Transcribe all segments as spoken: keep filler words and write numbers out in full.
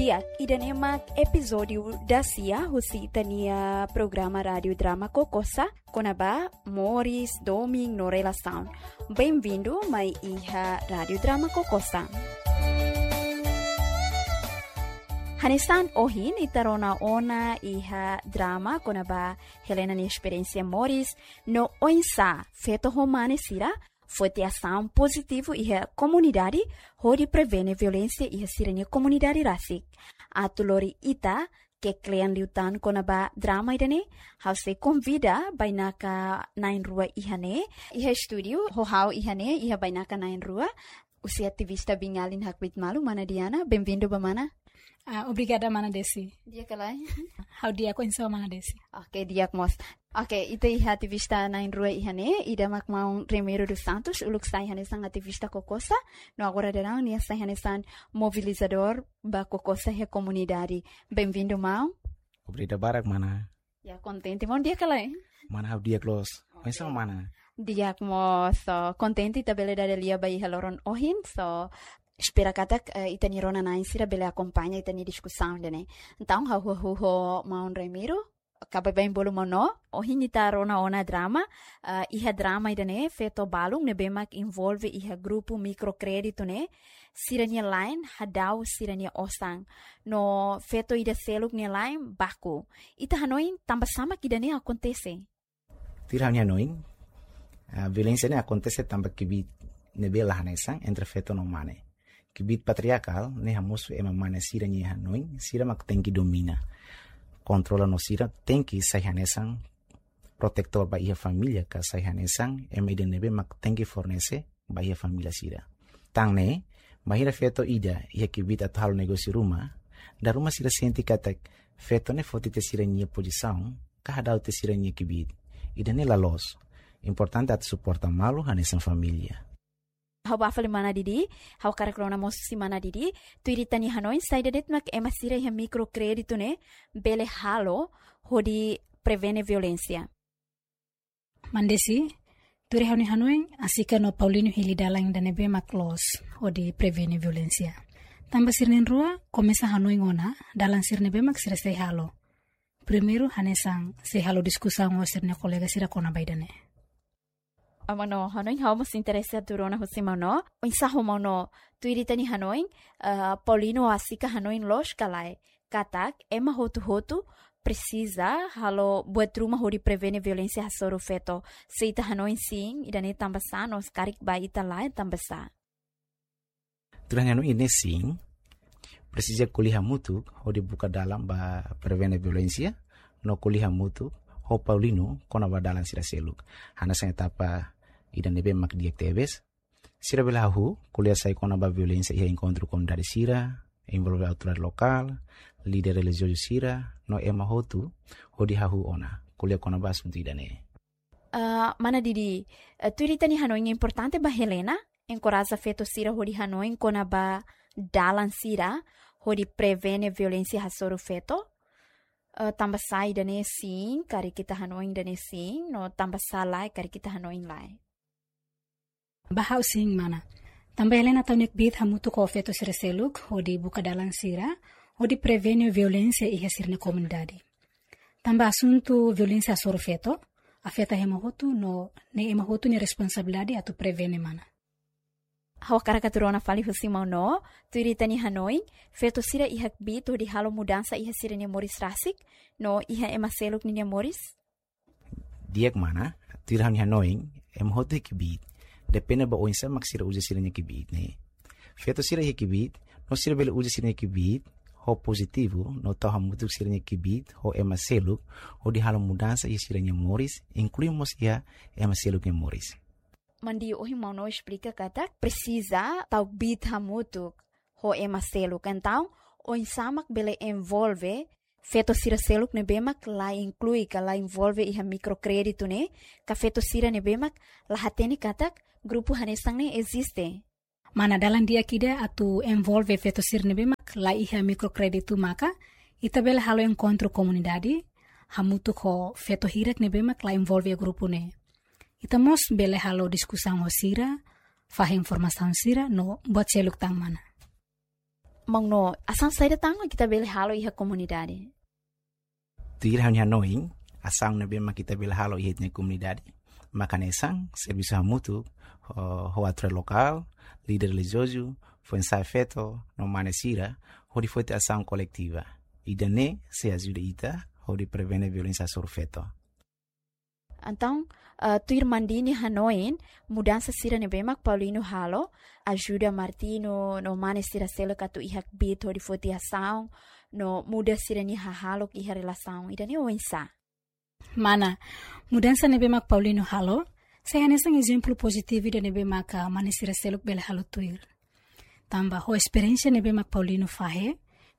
Di'ak, ida-ne'e mak epizódiu dasia husi ita-nia programa Rádiu Drama Kokosa, kona-ba moris, domin no relasaun. Benvindu mai iha Rádiu Drama Kokosa. Hanesan ohin ita rona ona iha drama kona-ba Helena nia esperiénsia moris, no oinsá feto ho mane sira foti asaun pozitivu iha komunidade, hodi prevene violénsia iha sira-nia komunidade rasik. Atu lori ita ke klean liután kona-ba drama ida-ne'e, ha'u sei konvida bainaka na'in rua iha ne'e, iha estúdiu, ho ha'u iha ne'e, iha bainaka na'in rua, husi ativista biin-alin hakbiit malu, mana Diana, benvindu ba mana. Ah, obrigada, mana Desi. Di'ak ka lae? Ha'u di'ak, oinsá mana Desi? Oke, di'ak mós. Oke, ita iha ativista na'in rua iha ne'e, ida mak maun Remiro dos Santos, uluk sai hanesan ativista Kokosa, no agora daudaun nia sai hanesan mobilizadór ba Kokosa iha komunidade. Benvindu, maun. Obrigada barak, mana. Ya, kontente maun, di'ak ka lae? Mana, ha'u di'ak loos. Oinsá mana? Di'ak mós, so, kontente ita bele dada lia ba iha loron ohin, so, espera katak, eh, ita-nia rona-na'in sira bele akompaña ita-nia diskusaun ida-ne'e. Entaun, ha'u hahú ho maun Remiro, ka baibain bolu maun Noo, ohin ita rona ona drama, eh, iha drama ida-ne'e, feto balun ne'ebé mak envolve iha grupu mikrokréditu ne'e, sira-nia la'en hadau sira-nia osan. No feto ida seluk nia la'en baku. Ita hanoin tanbasá mak ida-ne'e akontese? Tuir ha'u-nia hanoin, ah, violénsia ne'e akontese tanba kbiit ne'ebé la hanesan entre feto no mane. Kbiit patriarkál ne'e hamosu ema mane sira-nia hanoin, sira mak tenke domina, kontrola no sira tenke sai hanesan protetór ba iha família, ka sai hanesan ema ida ne'ebé mak tenke fornese ba iha família sira. Tan ne'e, bainhira feto ida iha kbiit atu halo negósiu ruma, dala ruma sira sente katak feto ne'e foti tiha sira-nia pozisaun, ka hadau tiha sira-nia kbiit. Ida-ne'e la loos. Importante atu suporta malu hanesan família. Ha'u bá fali mana Didi, ha'u hakarak rona mós husi mana Didi, tuir ita-nia hanoin saida de'it mak ema sira iha mikrokréditu ne'e bele halo hodi prevene violénsia. Mana Desi, tuir ha'u-nia hanoin, Asika no Paulino hili dalan ida ne'ebé mak loos hodi prevene violénsia. Tanba sira na'in-rua komesa hanoin ona dalan sira ne'ebé mak sira sei halo. Primeiru, hanesan sei halo diskusaun ho sira-nia kolega sira kona-ba ida-ne'e. Ah, maun Noo, hanoin ha'u mós interese atu rona husi maun Noo. Oinsá ho maun Noo, tuir ita-nia hanoin, eh, Paulino, Asika hanoin loos ka lae katak ema hotu-hotu presiza halo buat ruma hodi prevene violénsia hasoru feto? Se ita hanoin sin, ida-ne'e tanbasá, no se karik ba ita lae tanbasá? Tuir ha'u-nia hanoin ne'e sin, presiza ko'alia hamutuk hodi buka dalan ba prevene violénsia, no ko'alia hamutuk ho Paulino kona-ba dalan sira seluk. Hanesan etapa ida ne'ebé mak di'ak tebes, sira bele hahú ko'alia sai kona-ba violénsia iha enkontru komunidade sira, envolve autoridade lokál, líder relijiozu sira, no ema hotu hodi hahú ona ko'alia kona-ba asuntu ida-ne'e. Ah, mana Didi, eh, tuir ita-nia hanoin importante ba Helena enkoraja feto sira hodi hanoin kona-ba dalan sira hodi prevene violénsia hasoru feto. Eh, tanbasá ida-ne'e sin, karik ita hanoin ida-ne'e sin, no tanbasá lae, karik ita hanoin lae? Ba ha'u sin, mana. Tanba Helena tau nia kbiit hamutuk ho feto sira seluk hodi buka dalan sira hodi prevene violénsia iha sira-nia komunidade. Tanba asuntu violénsia hasoru feto afeta ema hotu, no ne'e ema hotu nia responsabilidade atu prevene, mana. Ha'u hakarak atu rona fali husi maun Noo, tuir ita-nia hanoin, feto sira iha kbiit hodi halo mudansa iha sira-nia moris rasik, no iha ema seluk ninia moris? Di'ak, mana, tuir ha'u-nia hanoin, ema hotu iha kbiit. Depende ba oinsá mak sira uza sira-nia kbiit ne'e. Feto sira iha kbiit, no sira bele uza sira-nia kbiit ho pozitivu, no tau hamutuk sira-nia kbiit ho ema seluk, hodi halo mudansa iha sira-nia moris, inklui mós iha ema seluk nia moris. Mana Didi, ohin maun Noo esplika katak presiza tau kbiit hamutuk ho ema seluk. Entaun, oinsá mak bele envolve feto sira seluk ne'ebé mak la inklui ka la envolve iha mikrokréditu ne'e, ka feto sira ne'ebé mak la hatene katak grupu hanesan ne'e eziste? Mana, dalan di'ak ida atu envolve feto sira ne'ebé mak la iha mikrokréditu maka ita bele halo enkontru komunidade hamutuk ho feto hirak ne'ebé mak la envolve iha grupu ne'e. Ita mós bele halo diskusaun ho sira, fahe informasaun sira, no buat seluk tan, mana. Maun No, asaun saida tan mak ita bele halo iha komunidade? Tuir ha'u-nia hanoin, asaun ne'ebé mak ita bele halo iha ita-nia komunidade maka hanesan servisu hamutuk ho, ho autoridade lokál, líder relijiozu, foin-sa'e feto no mane sira, hodi foti asaun koletiva. Ida-ne'e sei ajuda ita hodi prevene violénsia hasoru feto. Entaun, ah, tuir Mandini hanoin, mudansa sira ne'ebé mak Paulino halo, ajuda Martinho no mane sira seluk atu iha kbiit hodi foti asaun no muda sira-nia hahalok iha relasaun. Ida-ne'e oinsá? Mana, mudansa ne'ebé mak Paulino halo, sei hanesan ezemplu pozitivu ida ne'ebé maka mane sira seluk bele halo tuir. Tanba ho esperiénsia ne'ebé mak Paulino fahe,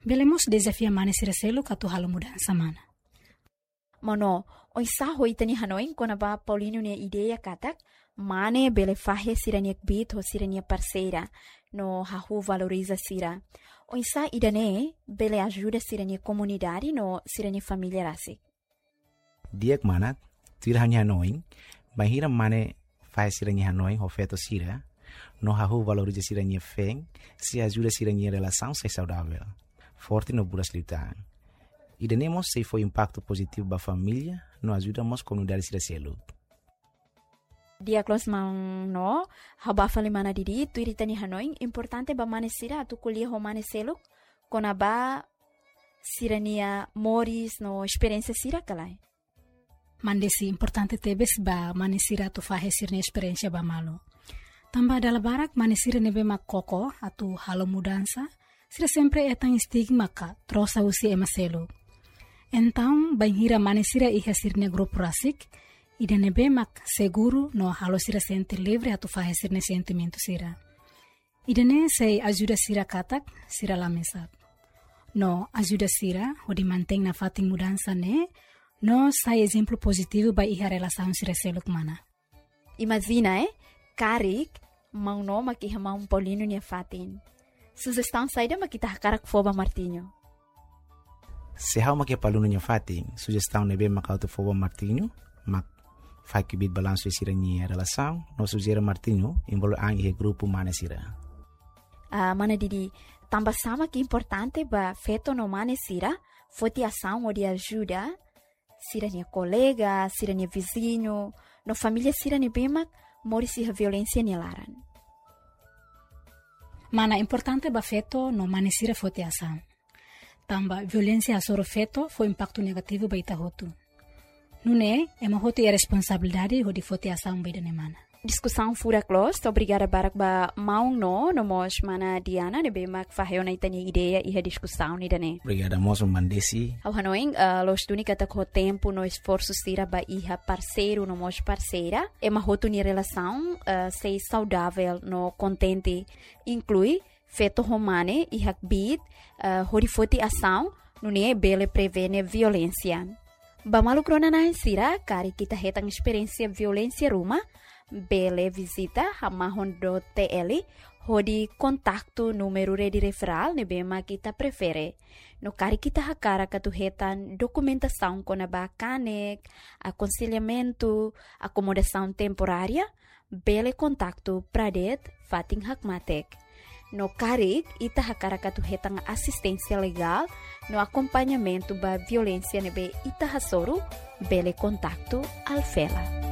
bele mós dezafia mane sira seluk atu halo mudansa, mana. Maun No, oinsá ho ita-nia hanoin kona-ba Paulino nia ideia katak mane bele fahe sira-nia kbiit ho sira-nia parseira no hahú valoriza sira? Oinsá ida-ne'e bele ajuda sira-nia komunidade no sira-nia família rasik? Di'ak mana, tuir ha'u-nia hanoin, bainhira mane fahe sira-nia hanoin ho feto sira no hahú valoriza sira-nia feen, sei ajuda sira-nia relasaun sai saudavel, forte no buras liután. Ida-ne'e mós sei fó impaktu pozitivu ba família no ajuda mós komunidade sira seluk. Di'ak loos Maun No, ha'u bá fali mana Didi, tuir ita-nia hanoin, importante ba mane sira atu ko'alia ho mane seluk kona-ba sira-nia moris no esperiénsia sira ka lae? Mandesi, importante tebes ba mane sira atu fahe sira-nia esperiénsia ba malu. Tanba dala barak mane sira ne'ebé mak koko atu halo mudansa, sira sempre hetan estigma ka trosa husi ema seluk. Entaun, bainhira mane sira iha sira-nia grupu rasik, ida ne'ebé mak seguru no halo sira sente livre atu fahe sira-nia sentimentu sira. Ida-ne'e sei ajuda sira katak sira la mesak. No ajuda sira hodi mantein nafatin mudansa ne'e, no sai ezemplu pozitivu ba iha relasaun sira seluk, mana. Imajina, eh, karik Maun No mak iha Maun Paulino nia fatin. Sujestaun saida mak ita hakarak fó ba Martinho? Se ha'u mak iha Paulino nia fatin, sujestaun ne'ebé mak ha'u atu fó ba Martinho, mak fahe kbiit balansu iha sira-nia relasaun, no sujere Martinho envolve an iha grupu mane sira. Ah, mana Didi, tanba sá mak importante ba feto no mane sira foti asaun hodi ajuda sira-nia kolega, sira-nia viziñu, no família sira ne'ebé mak moris iha violénsia nia laran? Mana, importante ba feto no mane sira foti asaun. Tanba violénsia hasoru feto fó impaktu negativu ba ita hotu. Nune'e, ema hotu iha responsabilidade hodi foti asaun ba ida-ne'e, mana. Diskusaun furak loos, obrigada barak ba Maun No, no mós mana Diana, ne'ebé mak fahe ona ita-nia ideia iha diskusaun ida-ne'e. Obrigada mós, mana Desi. Ha'u hanoin, eh, loos duni katak ho tempu no esforsu sira ba iha parseiru no mós parseira, ema hotu nia relasaun, eh, sei saudavel no kontente, inklui feto ho mane iha kbiit, eh, hodi foti asaun, nune'e bele prevene violénsia. Ba maluk rona-na'in sira, karik ita hetan esperiénsia violénsia ruma, bele vizita hamahon dot T L, hodi kontaktu númeru rede referál ne'ebé mak ita prefere. No karik ita hakarak atu hetan dokumentasaun kona-ba kanek, akonsellamentu, akomodasaun temporária, bele kontaktu Pradet fatin hakmatek. No karik ita hakarak atu hetan asisténsia legál no akompañamentu ba violénsia ne'ebé ita hasoru, bele kontaktu Alfela.